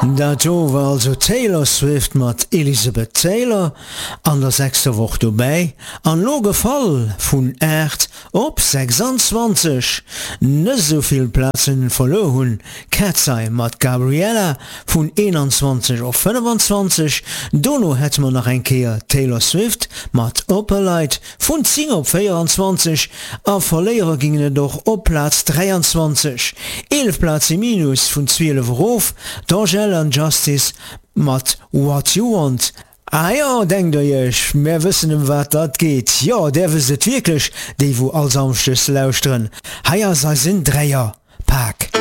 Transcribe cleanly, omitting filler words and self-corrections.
Dat do war also d'Taylor Swift mat Elizabeth Taylor an der sechster Woch dobäi an lo gefall vun 8 op 26. Net esou vill Plazen verluer hunn Katseye mat Gabriella vun 21 op 25. Dono hätte mer nach eng Kéier Taylor Swift mat Opalite Vun 10 op 24 a Verléierer gingen et och op Plaz 23, 11 Plaze Minus vun 12 erof, d'Angèle an Justice mat What You Want. Ah jo, denkt der iech, mär wëssen ëm wat dat geet. Jo, där wësst et wierklech, déi wou all Samschdes lauschteren. Hei ass eisen Dräier.